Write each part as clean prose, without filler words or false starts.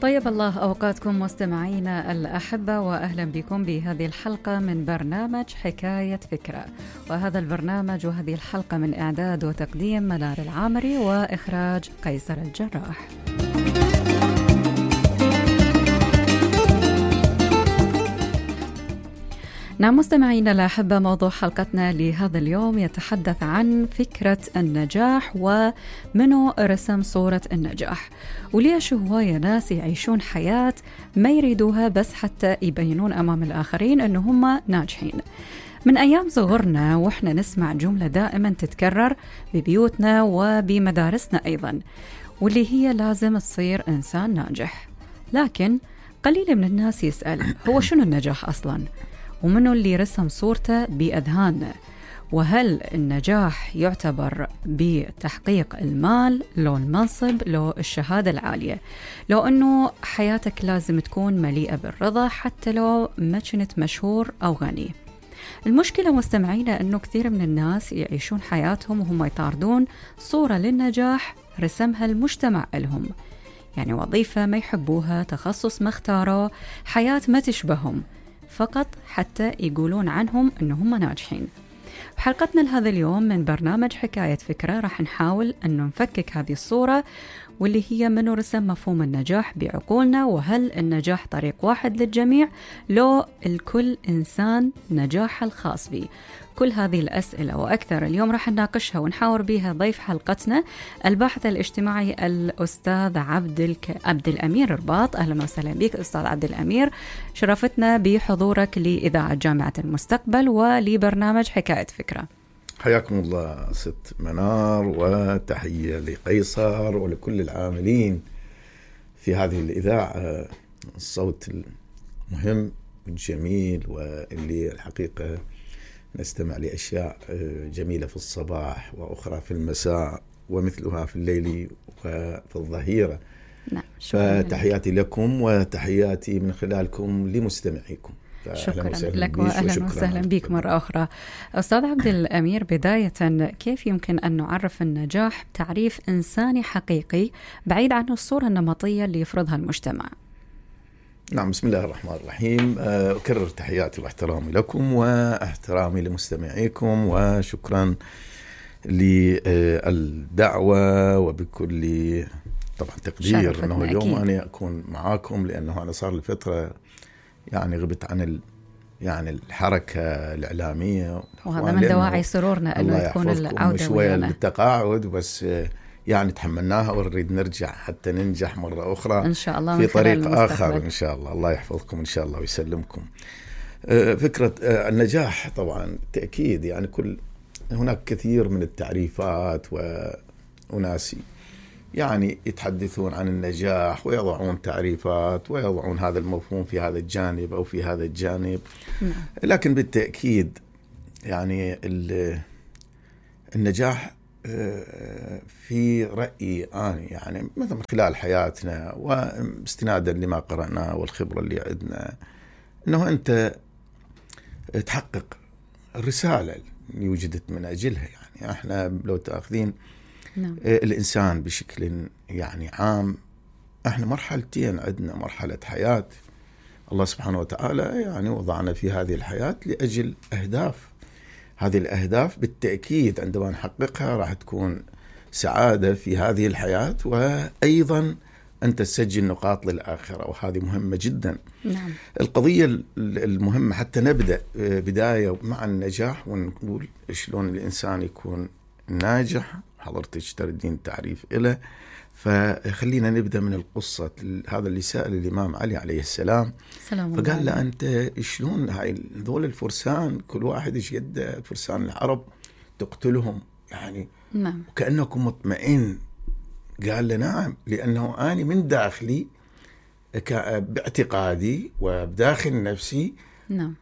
طيب الله أوقاتكم مستمعينا الأحبة، وأهلا بكم بهذه الحلقة من برنامج حكاية فكرة. وهذا البرنامج وهذه الحلقة من إعداد وتقديم منار العامري وإخراج قيصر الجراح. نعم مستمعينا الأحبة، موضوع حلقتنا لهذا اليوم يتحدث عن فكرة النجاح ومنو رسم صورة النجاح، وليش هواية ناس يعيشون حياة ما يريدوها بس حتى يبينون أمام الآخرين أنه هم ناجحين. من أيام صغرنا وإحنا نسمع جملة دائما تتكرر ببيوتنا وبمدارسنا أيضا، واللي هي لازم تصير إنسان ناجح. لكن قليل من الناس يسأل هو شنو النجاح أصلا؟ ومنو اللي رسم صورته بأذهاننا؟ وهل النجاح يعتبر بتحقيق المال، لو المنصب، لو الشهادة العالية، لو أنه حياتك لازم تكون مليئة بالرضا حتى لو ما كنت مشهور أو غني؟ المشكلة مستمعينا أنه كثير من الناس يعيشون حياتهم وهم يطاردون صورة للنجاح رسمها المجتمع لهم، يعني وظيفة ما يحبوها، تخصص ما اختاروه، حياة ما تشبههم، فقط حتى يقولون عنهم أنهم ناجحين. بحلقتنا لهذا اليوم من برنامج حكاية فكرة راح نحاول أنه نفكك هذه الصورة، واللي هي منو رسم مفهوم النجاح بعقولنا، وهل النجاح طريق واحد للجميع لو الكل إنسان نجاح الخاص به؟ كل هذه الأسئلة وأكثر اليوم راح نناقشها ونحاور بها ضيف حلقتنا الباحث الاجتماعي الأستاذ عبد الأمير رباط. أهلا وسهلا بك أستاذ عبد الأمير، شرفتنا بحضورك لإذاعة جامعة المستقبل ولبرنامج حكاية فكرة. حياكم الله ست منار، وتحية لقيصر ولكل العاملين في هذه الإذاعة، الصوت المهم والجميل، واللي الحقيقة نستمع لأشياء جميلة في الصباح وأخرى في المساء ومثلها في الليل وفي الظهيرة. نعم، فتحياتي لكم وتحياتي من خلالكم لمستمعيكم. شكرا لك وأهلا وسهلا بك مرة أخرى. أستاذ عبد الأمير، بداية كيف يمكن أن نعرف النجاح تعريف إنساني حقيقي بعيد عن الصورة النمطية اللي يفرضها المجتمع؟ نعم، بسم الله الرحمن الرحيم. أكرر تحياتي واحترامي لكم واحترامي لمستمعيكم، وشكرا للدعوة وبكل طبعا تقدير أنه اليوم أنا أكون معاكم، لأنه أنا صار لفترة يعني غبت عن يعني الحركة الإعلامية، وهذا من دواعي سرورنا أنه تكون العودة شوية للتقاعد، بس يعني تحملناها ونريد نرجع حتى ننجح مرة أخرى إن شاء الله في طريق آخر إن شاء الله. الله يحفظكم إن شاء الله ويسلمكم. فكرة النجاح طبعا تأكيد يعني هناك كثير من التعريفات، وناس يعني يتحدثون عن النجاح ويضعون تعريفات ويضعون هذا المفهوم في هذا الجانب أو في هذا الجانب. لكن بالتأكيد يعني النجاح في رأيي أنا يعني مثلا من خلال حياتنا واستنادا لما قرأناه والخبرة اللي عندنا، أنه أنت تحقق الرسالة اللي وجدت من أجلها. يعني احنا لو تأخذين الإنسان بشكل يعني عام، احنا مرحلتين عندنا، مرحلة حياة الله سبحانه وتعالى يعني وضعنا في هذه الحياة لأجل أهداف. هذه الأهداف بالتأكيد عندما نحققها راح تكون سعادة في هذه الحياة، وأيضا أنت تسجل نقاط للآخرة، وهذه مهمة جدا. نعم. القضية المهمة حتى نبدأ بداية مع النجاح ونقول شلون الإنسان يكون ناجح، حضرتك تردين تعريف إله، فخلينا نبدأ من القصة. هذا اللي سأل الإمام علي عليه السلام، فقال له أنت شلون هذول الفرسان كل واحد إيش قد فرسان العرب تقتلهم يعني وكأنكم مطمئن؟ قال له نعم، لأنه أنا من داخلي باعتقادي وبداخل نفسي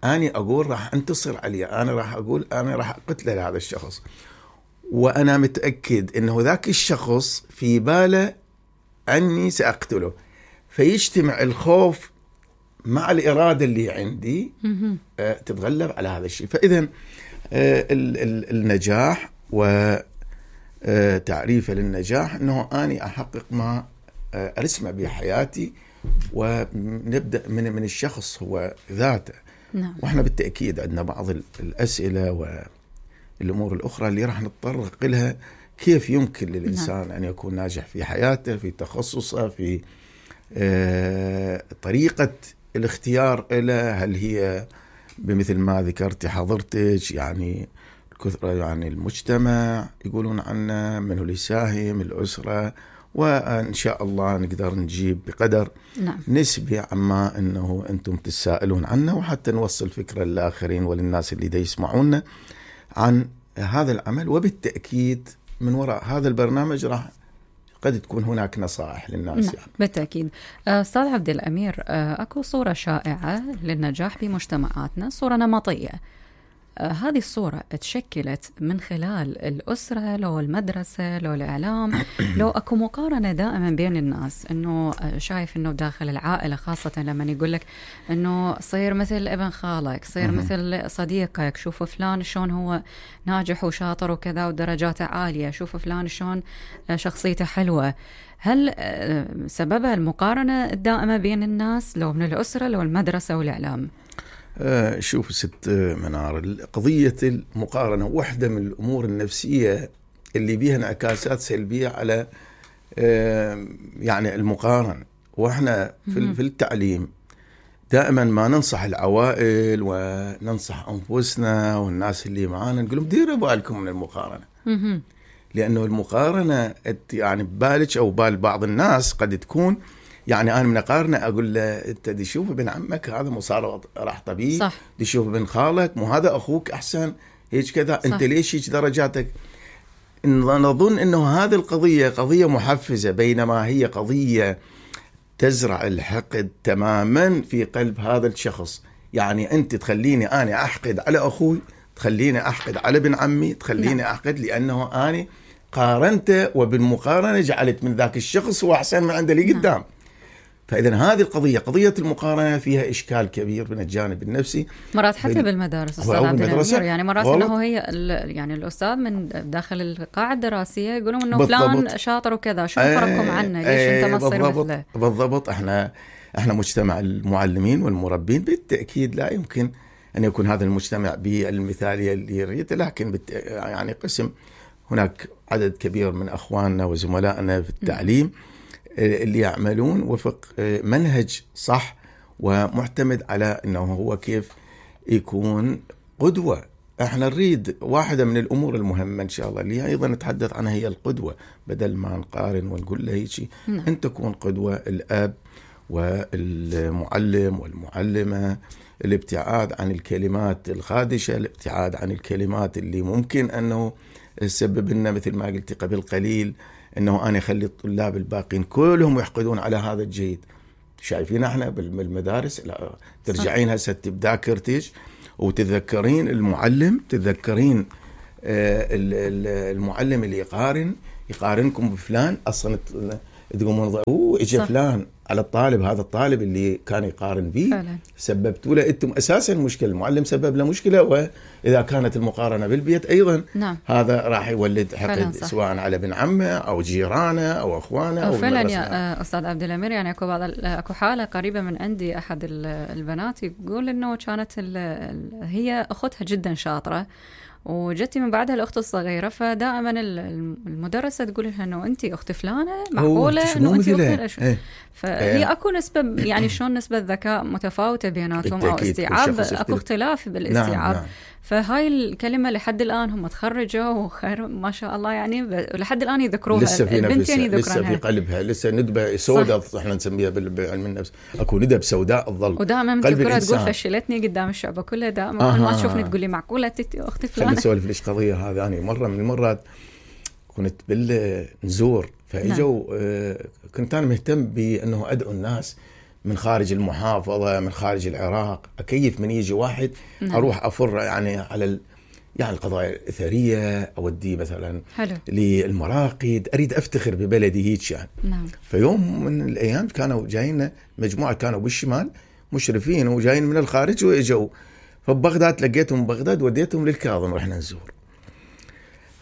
أنا أقول راح أنتصر عليه، أنا راح أقول أنا راح أقتل هذا الشخص، وأنا متأكد أنه ذاك الشخص في باله أني سأقتله، فيجتمع الخوف مع الإرادة اللي عندي تتغلب على هذا الشيء. فإذن النجاح وتعريفه للنجاح أنه أني أحقق ما ارسمه بحياتي، ونبدا من الشخص هو ذاته. نعم. واحنا بالتاكيد عندنا بعض الاسئله والامور الاخرى اللي راح نتطرق لها، كيف يمكن للانسان ان يكون ناجح في حياته، في تخصصه، في طريقه الاختيار له، هل هي بمثل ما ذكرتي حضرتك يعني الكثرة، يعني المجتمع يقولون عنه، من اللي يساهم، الأسرة، وإن شاء الله نقدر نجيب بقدر نعم. نسبي عما أنه أنتم تسائلون عنه، وحتى نوصل فكرة للآخرين وللناس اللي دا يسمعونا عن هذا العمل. وبالتأكيد من وراء هذا البرنامج راح قد تكون هناك نصائح للناس. نعم. يعني بالتأكيد. أستاذ عبد الأمير، أكو صورة شائعة للنجاح بمجتمعاتنا، صورة نمطية. هذه الصورة تشكلت من خلال الأسرة، لو المدرسة، لو الإعلام، لو أكو مقارنة دائما بين الناس، أنه شايف أنه داخل العائلة خاصة لما يقول لك أنه صير مثل ابن خالك، صير مثل صديقك، شوف فلان شلون هو ناجح وشاطر وكذا ودرجاته عالية، شوف فلان شلون شخصيته حلوة. هل سببها المقارنة الدائمة بين الناس، لو من الأسرة، لو المدرسة والإعلام؟ شوف ست منار، قضية المقارنة واحدة من الأمور النفسية اللي بيها انعكاسات سلبية على يعني المقارنة. وإحنا في التعليم دائما ما ننصح العوائل وننصح أنفسنا والناس اللي معانا، نقول لهم ديروا بالكم من المقارنة، لأنه المقارنة يعني ببالك أو بال بعض الناس قد تكون يعني أنا من أقارنه أقول له أنت دي شوف ابن عمك هذا مصار راح طبيب، دي شوف ابن خالك مو هذا أخوك أحسن هيك كذا، أنت ليش هيك درجاتك؟ نظن أنه هذه القضية قضية محفزة، بينما هي قضية تزرع الحقد تماما في قلب هذا الشخص. يعني أنت تخليني أنا أحقد على أخوي، تخليني أحقد على ابن عمي، تخليني أحقد لأنه أنا قارنته، وبالمقارنة جعلت من ذاك الشخص هو أحسن من عنده اللي قدام. فإذا هذه القضية، قضية المقارنة، فيها إشكال كبير من الجانب النفسي. مرات حتى بالمدارس أستاذ عبد الأمير، يعني مرات إنه هي يعني الأستاذ من داخل القاعة الدراسية يقولون إنه فلان شاطر وكذا، شو فرقكم عنه؟ ليش أنت ما تصير مثله؟ بالضبط. إحنا مجتمع المعلمين والمربين، بالتأكيد لا يمكن أن يكون هذا المجتمع بالمثالية اللي يريد، لكن يعني قسم هناك عدد كبير من أخواننا وزملائنا في التعليم اللي يعملون وفق منهج صح ومعتمد على أنه هو كيف يكون قدوة. احنا نريد واحدة من الأمور المهمة إن شاء الله اللي أيضا نتحدث عنها هي القدوة، بدل ما نقارن ونقول له هيك. أن تكون قدوة الأب والمعلم والمعلمة، الابتعاد عن الكلمات الخادشة، الابتعاد عن الكلمات اللي ممكن أنه تسبب لنا مثل ما قلت قبل قليل أنه أنا أخلي الطلاب الباقين كلهم يحقدون على هذا الجيد. شايفين احنا بالمدارس، لا ترجعين هسه بذاكرتك وتتذكرين المعلم، تتذكرين المعلم اللي يقارنكم بفلان، أصلا تقومون اجى فلان على الطالب، هذا الطالب اللي كان يقارن به سببتوا له انتم اساسا مشكله، المعلم سبب له مشكله، واذا كانت المقارنه بالبيت ايضا هذا راح يولد حقد سواء على ابن عمه او جيرانه او اخوانه او فعلا. يا استاذ عبد الأمير، يعني اكو حاله قريبه من عندي، احد البنات يقول انه كانت هي اختها جدا شاطره، وجتي من بعدها الأخت الصغيرة، فدائما المدرسة تقول لها إنه أنتي أخت فلانة، معقولة إنه أنتي أخت فهي أكو نسبة، يعني شلون نسبة ذكاء متفاوتة بيناتهم أو استيعاب، أكو اختلاف بالاستيعاب. نعم. فهاي الكلمة لحد الآن هم تخرجوا وخير ما شاء الله، يعني لحد الآن يذكروها، البنتين يذكرونها، لسه في قلبها لسه ندبة سوداء، احنا نسميها بعلم النفس، أكو ندب سوداء الظل، ودائما تذكرها تقول فشلتني قدام الشعب كله، دائما ما تشوفني تقول لي معقولة أختي فلانة. خلي نسولف ليش قضية هذا. أنا مرة من المرات كنت بالنزور، فاجوا كنت أنا مهتم بأنه أدعو الناس من خارج المحافظة، من خارج العراق، أكيف من يجي واحد أروح أفر يعني على يعني القضايا الأثرية، أودي مثلا للمراقد، أريد أفتخر ببلدي هيك يعني. فيوم من الأيام كانوا جايين مجموعة، كانوا بالشمال مشرفين وجايين من الخارج وإجوا، فبغداد لقيتهم بغداد وديتهم للكاظم، رحنا نزور.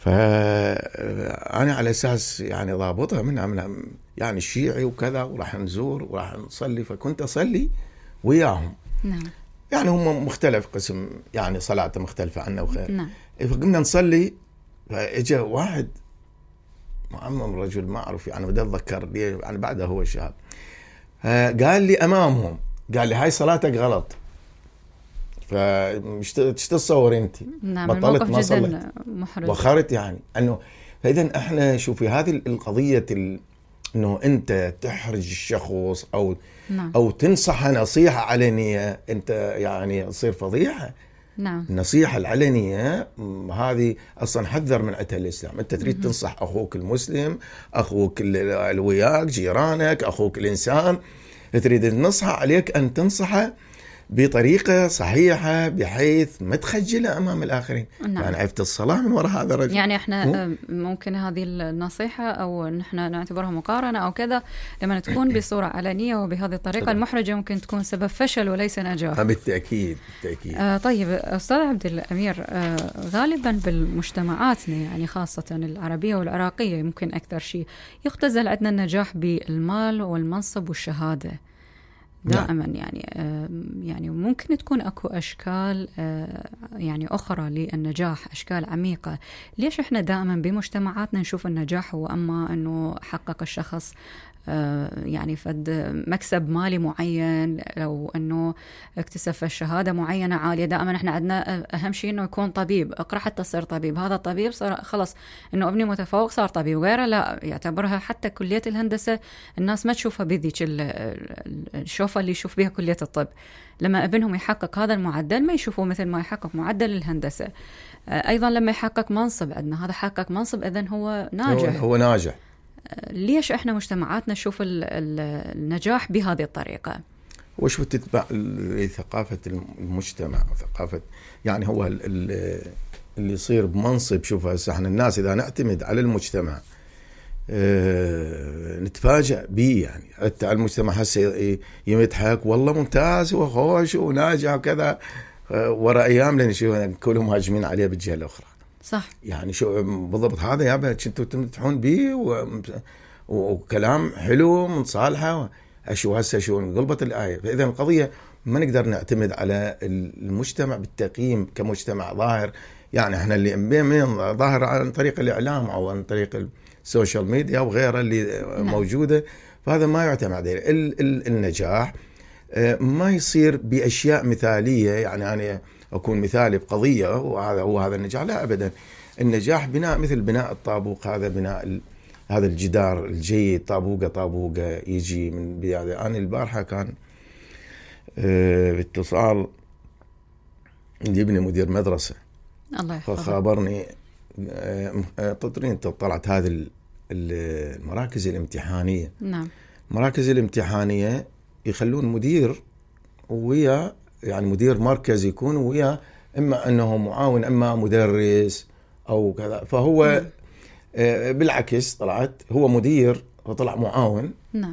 فأنا على أساس يعني ضابطها منها يعني الشيعي وكذا، وراح نزور وراح نصلي، فكنت أصلي وياهم. نعم. يعني هم مختلف قسم، يعني صلاته مختلفة عنا وخير. نعم. فقمنا نصلي، فاجا واحد معمم رجل ما أعرف يعني بدي أتذكر ليه، يعني بعده هو شاب، قال لي أمامهم، قال لي هاي صلاتك غلط. فمش تتصور انت. نعم. بطلت الموقف ما جدا صليت محرج. وخرت يعني انه. فاذا احنا شوفي هذه القضيه انه انت تحرج الشخص نعم. او تنصحه نصيحه علنيه، انت يعني تصير فضيحه. نعم. النصيحه العلنيه هذه اصلا حذر من عتها الاسلام. انت تريد تنصح اخوك المسلم، اخوك اللي وياك، جيرانك، اخوك الانسان، تريد تنصحه، عليك ان تنصحه بطريقة صحيحة بحيث ما تخجله أمام الآخرين. نعم. يعني عرفت الصلاة من وراء هذا الرجل. يعني احنا ممكن هذه النصيحة أو نحن نعتبرها مقارنة أو كذا، لما تكون بصورة علنية وبهذه الطريقة المحرجة ممكن تكون سبب فشل وليس نجاح. بالتأكيد بالتأكيد. طيب أستاذ عبد الأمير، غالبا بالمجتمعاتنا يعني خاصة العربية والعراقية يمكن أكثر شيء يختزل عندنا النجاح بالمال والمنصب والشهادة دائما. يعني ممكن تكون اكو اشكال يعني اخرى للنجاح، اشكال عميقه. ليش احنا دائما بمجتمعاتنا نشوف النجاح هو اما انه حقق الشخص يعني فد مكسب مالي معين، لو انه اكتسب شهاده معينه عاليه. دائما احنا عندنا اهم شيء انه يكون طبيب، اقرا حتى تصير طبيب، هذا الطبيب صار خلص انه ابني متفوق صار طبيب. وغيره لا، يعتبرها حتى كليه الهندسه الناس ما تشوفها بذيك الشوفه اللي يشوف بها كليه الطب. لما ابنهم يحقق هذا المعدل ما يشوفوه مثل ما يحقق معدل الهندسه. ايضا لما يحقق منصب، عندنا هذا حقق منصب اذن هو ناجح. هو ناجح. ليش احنا مجتمعاتنا نشوف النجاح بهذه الطريقة؟ وش تتبع ثقافة المجتمع وثقافة يعني هو اللي يصير بمنصب. شوف هسه احنا الناس اذا نعتمد على المجتمع نتفاجأ به. يعني حتى المجتمع هسه يمدحك والله ممتاز وخوش وناجح وكذا، ورا ايام لان شو كلهم هاجمين عليه بالجهة الاخرى. صح. يعني شو بالضبط هذا يابا كنتوا تمدحون به وكلام حلو من صالحه، اشو هسه شو انقلبت الايه. فاذا القضيه ما نقدر نعتمد على المجتمع بالتقييم كمجتمع ظاهر. يعني احنا اللي ظاهر عن طريق الاعلام او عن طريق السوشيال ميديا وغيرها اللي موجوده، فهذا ما يعتمد عليه. النجاح ما يصير باشياء مثاليه، يعني انا أكون مثالي بقضية وهذا هو هذا النجاح، لا أبدا. النجاح بناء مثل بناء الطابوق، هذا بناء هذا الجدار الجيد، طابوقة يجي من بداية. أنا البارحة كان باتصال يجيبني مدير مدرسة، الله يحفظه، فخابرني طلعت هذه المراكز الامتحانية. نعم. المراكز الامتحانية يخلون مدير ويا يعني مدير مركز يكون وياه، إما أنه معاون إما مدرس أو كذا. فهو بالعكس طلعت هو مدير وطلع معاون. نعم.